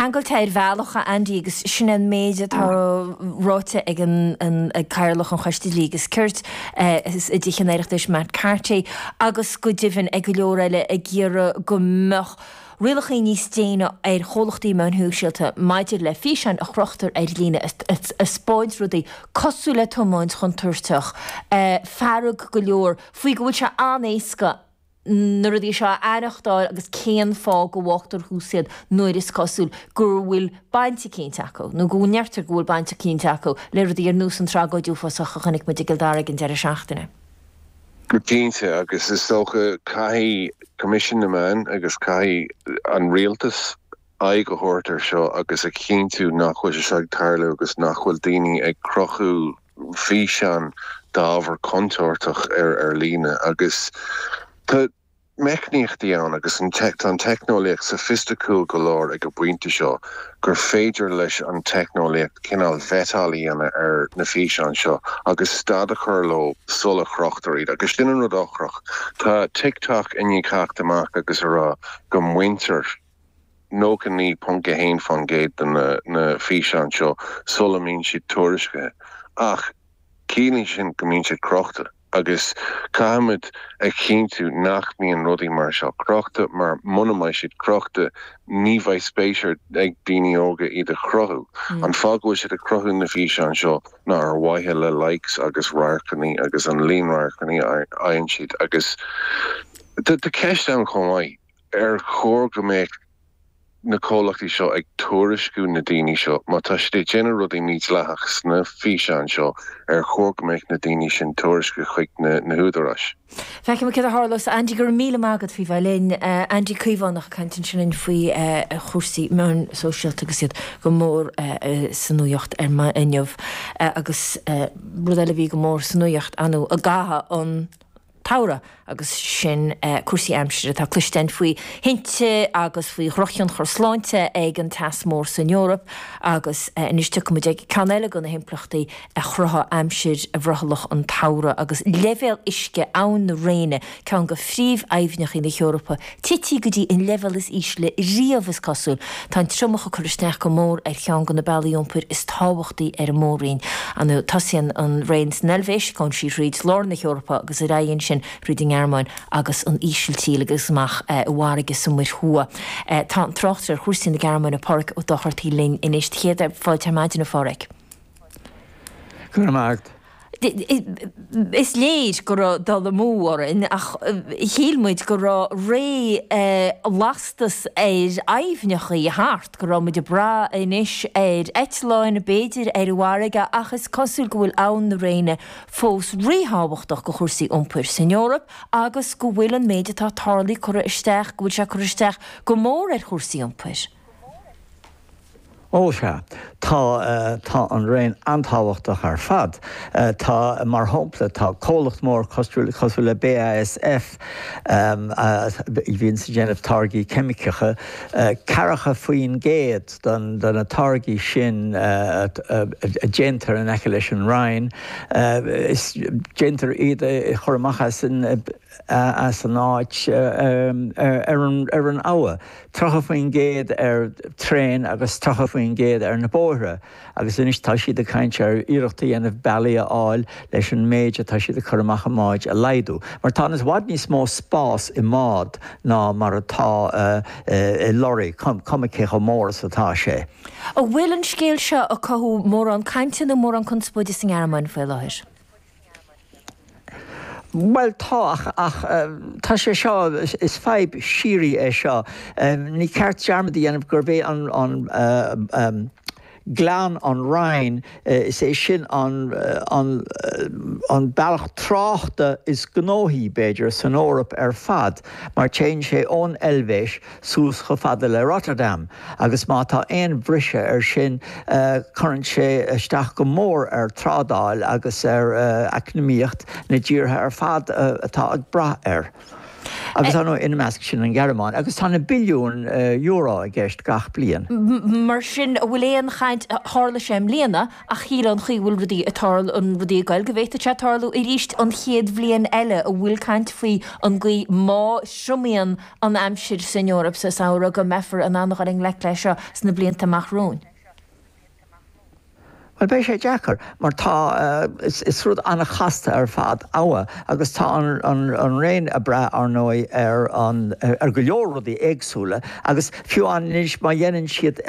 ceangailte ar bhealach, a Andy, agus sin é an méid atá ráite ag an ag Cathaoirleach an Choiste Dlí agus Cirt i dTithe an Oireachtais, Matt Carthy, agus go deimhin ag go leor eile ag iarraidh go mbeadh rialacha níos déine ar chomhlachtaí meáin shóisialta maidir le físeáin a chrochtar ar líne ag taispeáint rudaí cosúil le tiomáint chontúirteach, fearg go leor faoi go bhfuil sé an-éasca na rudaí seo a aireachtáil agus cén fáth go bhfágtar thuas iad nuair is cosúil go bhfuil baint eicínt acu, nó go ndeirtear go bhfuil baint eicínt acu le rudaí ar nós an tragóid uafásach a chonaic muid i gCill Dara ag an deireadh seachtaine. Go cinnte, agus is dócha caithfidh Coimisiún na Meán agus caithfidh an rialtas aghaidh a thabhairt ar seo agus a chinntiú nach bhfuil sé seo ag tarlú agus nach bhfuil daoine ag crochadh físeán d'ábhar contúirteach ar ar líne agus tá meicníochtaí ann agus an tá an teicneolaíocht soifisticiúil go leor ag an bpointe seo gur féidir leis an teicneolaíocht cineál vettáil a dhéanamh ar na físeáin seo agus stad a chur leo sula chrochtar iad agus sin an rud ocrach. Tá TikTok i ndiaidh theacht amach agus a rá go mbaintear 99.1% de na físeáin seo sula mbíonn siad tuairiscithe ach ciallaíonn sin go mbíonn siad crochta agus caithfimid a chinntiú nach mbíonn rudaí mar seo crochta mar muna mbeidh siad crochta ní bheidh spéis ag daoine óga iad a chruthú. An fáth go bhfuil siad ag cruthú na físeáin seo ná ar mhaithe le likes agus radharcanna agus an líon radharcanna a fhaigheann siad agus tá ceist ann chomh maith. Ar chóir go mbeadh na comhlachtaí seo ag tuairisciú na daoine seo? Má tá siad ag déanamh rudaí mídhleathach sna físeáin seo, ar chóir go mbeadh na daoine sin tuairiscithe chuig na húdaráis? Feicfidh muid céard a tharlós. Andy, go raibh míle maith agat faoi bheith linn. Andy Caomhánach ag caint ansin linn faoi chúrsaí meáin sóisialta agus iad go mór sa nuaíocht ar maidin inniu. Agus rud eile a bhí go mór sa nuaíocht, ar ndóigh, i gcaitheamh an tsamhraidh agus sin cúrsaí aimsire. Tá cloiste againn faoi thinte agus faoi dhrochthionchar sláinte ag an teas mór san Eoraip agus anois tiocfaidh muid ag ceann eile de na himpleachtaí a chruthaigh aimsir bhrothallach an tsamhraidh agus leibhéal uisce Abhainn na Réine, ceann de phríomh-aibhneacha na hEorpa, tití go dtí an leibhéal is ísle riamh, is cosúil. Tá an triomach ag cur isteach go mór ar cheann de na bealaí iompair is tábhachtaí ar an mór-roinn. Ar ndóigh, tosaíonn an Réin san Eilvéis, gabhann sí thríd lár na hEorpa agus ar aghaidh ansin thríd an nGearmáin agus an Ísiltír agus amach i bhfarraige sa Muir Thuaidh. Tá an tráchtaire ar chúrsaí na Gearmáine, Pádhraic Ó Dochartaigh linn anois. Céad fáilte ar maidin, a Phádhraic. Go raibh maith agat. Is léir go raibh dul amú orainn ach shíl muid go raibh ré lastas ar aibhneachaí thart, go raibh muid ag brath anois ar eitleáin, b'fhéidir ar an bhfarraige ach is cosúil go bhfuil Abhainn na Réine fós ríthábhachtach do chúrsaí iompair san Eoraip agus go bhfuil an méid atá tarlaithe curtha isteach, go bhfuil sé curtha isteach go mór ar chúrsaí iompair. Ó sea, tá, tá an Réin an-tábhachtach ar fad. Tá, mar shampla, tá comhlacht mór cosúil, cosúil le BASF, a bhíonns ag déanamh táirgí ceimiceacha, 40% den, de na táirgí sin a déantar in aice leis an Rhein, is, déantar iad a chur amach as an, as an áit ar an, ar an abha. 30% ar traein agus 30% ar na bóithre agus anois tá siad ag caint ar iarracht a dhéanamh bealaí a fháil leis an méid atá siad ag cur amach i mbáid a laghdú. Mar tá i bhfad níos mó spás i mbád ná mar atá i lorry, cuma cé chomh mór is atá sé. An bhfuil an scéal seo ag cothú mórán cainte nó mórán conspóide sa nGearmáin faoi láthair? Bhuel, tá, ach, ach tá sé seo, is fadhb shíoraí é seo. Ní ceart dearmad a dhéanamh gurb é an, an gleann an Rhine, is é sin an, an, an bealach tráchta is gnóthaí, b'fhéidir, san Eoraip ar fad, mar téann sé ón Eilvéis suas chomh fada le Rotterdam agus má tá aon bhriseadh air sin cuireann sé isteach go mór ar trádáil agus ar eacnamaíocht na dtíortha ar fad atá ag brath air. Agus ar ndóigh ina measc sin an Ghearmáin. Agus tá na billiúin euro i gceist gach bliain. Mar sin, an bhfuil aon chaint, tharla sé i mbliana, ach shílfeá an chaoi a bhfuil rudaí ag tarlú, an rudaí ag goil, go bhféadfadh sé tarlú arís an chéad bhliain eile, an bhfuil caint faoi an gcaoi má thriomaíonn an aimsir san Eoraip sa samhradh go mbeifear in ann a dhul i ngleic leis seo sna blianta amach romhainn? Bhuel, beidh sé deacair, mar tá, is rud an-chasta ar fad abha agus tá an Réin ag brath, ar ndóigh, ar an, ar go leor rudaí éagsúla agus fiú anois má dhéanann siad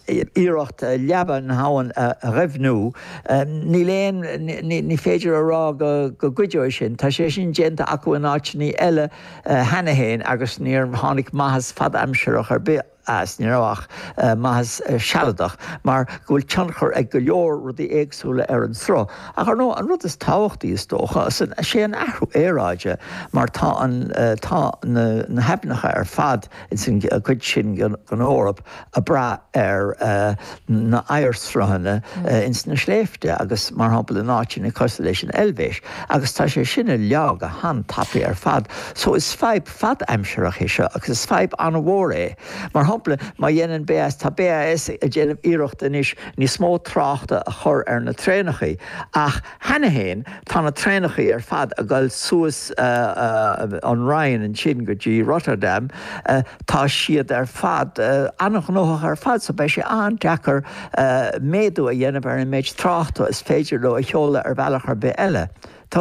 iarracht leaba na habhann a dhoimhniú, níl aon, ní féidir a rá go gcuideoidh sin. Tá sé sin déanta acu in áiteanna eile cheana féin agus níor tháinig maitheas fad-aimsireach ar bith as, ní raibh ach maitheas sealadach, mar go bhfuil tionchar ag go leor rudaí éagsúla ar an sruth. Ach ar ndóigh, an rud is tábhachtaí, is dócha, is é an athrú aeráide, mar tá an, tá na na haibhneacha ar fad ins an gcuid sin den Eoraip ag brath ar na oighearshruthanna ins na sléibhte agus, mar shampla, in áiteanna cosúil leis an Eilvéis, agus tá sé sin ag leá go han-tapaidh ar fad. So is fadhb fad-aimsireach é seo agus is fadhb an-mhór é. Mar shampla, má dhéanann BAS, tá BAS ag déanamh iarracht anois níos mó tráchta a chur ar na traenachaí ach cheana féin tá na traenachaí ar fad ag dul suas an Rhine ansin go dtí Rotterdam, tá siad ar fad an-ghnóthach ar fad so beidh sé an-deacair méadú a dhéanamh ar an méid tráchta is féidir leo a sheoladh ar bhealach ar bith eile.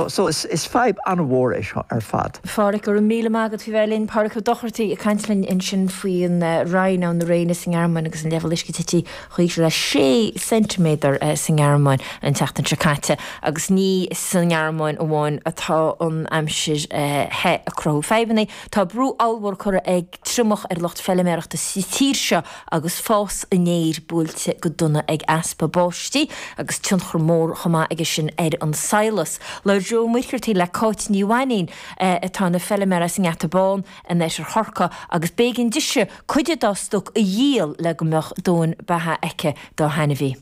So is fadhb an-mhór é seo ar fad. A Phádhraic, go raibh míle maith agat faoi bheith linn. Pádraic Ó Dochartaigh ag caint linn ansin faoin Rhine, abhainn na Réine sa nGearmáin agus an leibhéal uisce tite chomh híseal le sé ceintiméadar sa nGearmáin an tseachtain seo caite. Agus ní sa nGearmáin amháin atá an aimsir the ag cruthú fadhbanna. Tá brú ollmhór curtha ag triomach ar lucht feiliméarachta sa tír seo agus fás an fhéir buailte go dona ag easpa báistí agus tionchar mór chomh maith aige sin ar an sadhlas. Labhair Joe Ó Muircheartaigh le Cáit Ní Mhainín atá ina feiliméar as an nGeata Bán in oirthear Chorcaí agus b'éigean dise cuid dá stoc a dhíol le go mbeadh dóthain beatha aici dá hainmhí.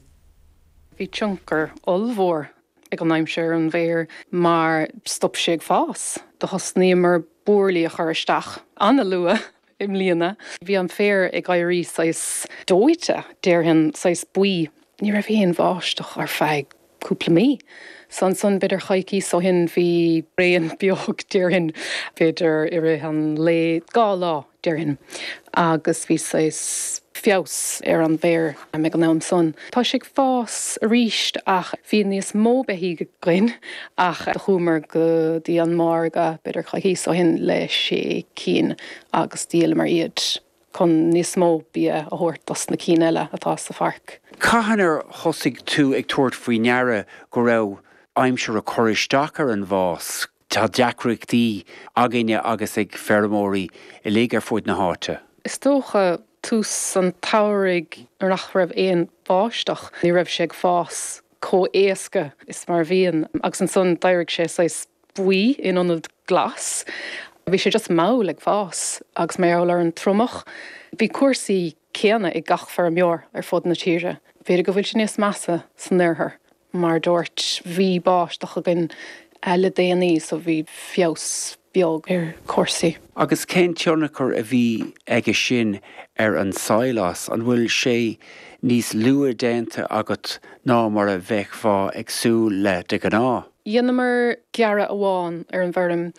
Bhí tionchar ollmhór ag an aimsir ar an bhféar mar stop sé ag fás. Do thosnaíomar búirlí a chur isteach an-luath i mbliana. Bhí an féar ag éirí saghas dóite, déarfainn, saghas buí. Ní raibh aon bháisteach ar feadh cúpla mí. So ansan, b'fhéidir coicíos ó shin, bhí raon beag, déarfainn, b'fhéidir i rith an lae, 2 lá, déarfainn, agus bhí saghas feabhas ar an bhféar ag an am san. Tá sé ag fás arís ach bhí níos mó beithígh againn ach do chuamar go dtí an margadh b'fhéidir coicíos ó shin le sé cinn agus dhíolamar iad chun níos mó bia a thabhairt dos na cinn eile atá sa pháirc. Cathain ar thosaigh tú ag tabhairt faoi ndeara go raibh aimsir ag cur isteach ar an bhfás? Tá deacrachtaí againne agus ag feirmeoirí uilig ar fud na háite. Is dócha tús an tsamhraidh nuair nach raibh aon bháisteach, ní raibh sé ag fás chomh éasca is mar a bhíonn agus ansan d'éirigh sé saghas buí in ionad glas. Bhí sé just mall ag fás agus mar gheall ar an triomach bhí cúrsaí céanna ag gach feirmeoir ar fud na tíre. B'fhéidir go bhfuil sé níos measa san oirthear. Mar a dúirt, bhí báisteach againn le déanaí so bhí feabhas beag ar chúrsaí. Agus cén tionchar a bhí aige sin ar an sadhlas? An bhfuil sé níos luaithe déanta agat ná mar a bheifeá ag súil le de ghnáth? Dheineamar gearradh amháin ar an bhfeirm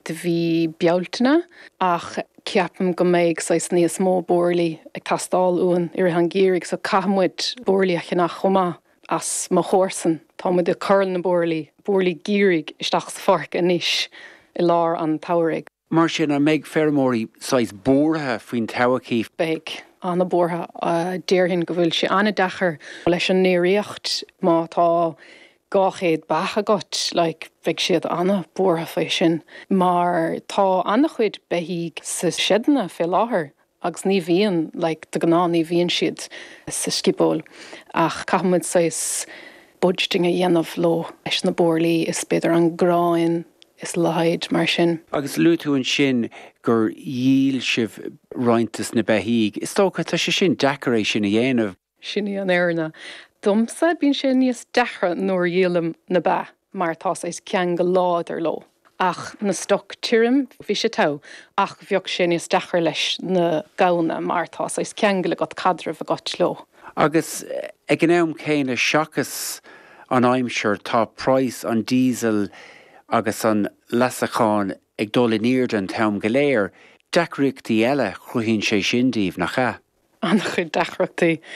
do mhí Bealtaine ach ceapaim go mbeidh saghas níos mó búirlí ag teastáil uainn i rith an gheimhridh so caithfidh muid búirlí a cheannach chomh maith. As mo chomharsan. Tá muid ag cur na búirlí, búirlí geimhridh isteach sa pháirc anois i lár an tsamhraidh. Mar sin, an mbeidh feirmeoirí saghas buartha faoin todhchaí? Beidh. An-buartha. Déarfainn go bhfuil sé an-deacair leis an ndéiríocht má tá 200 beach agat, like, beidh siad an-buartha faoi sin mar tá an-chuid beithígh sa seideanna fé láthair agus ní bhíonn, like, de ghnáth ní bhíonn siad sa sciobóil ach caithfidh muid saghas budgeting a dhéanamh leo leis na búirlí is b'fhéidir an gráin is a leithéid mar sin. Agus luaigh tú ansin gur dhíol sibh roinnt des na beithígh. Is dócha, tá sé sin deacair é sin a dhéanamh. Sin í an fhírinne. Domsa, bíonn sé níos deacra nuair a dhíolaim na ba mar tá saghas ceangal láidir leo. Ach na stoc tirim, bhí sé togha, ach bheadh sé níos deacair leis na gamhna mar tá saghas ceangal agat, caidreamh agat leo. Agus ag an am céanna, seachas an aimsir, tá praghas an diesel agus an leasacháin ag dul in airde an t-am go léir. Deacrachtaí eile a chruthaíonn sé sin daoibh, nach ea? An-chuid deacrachtaí.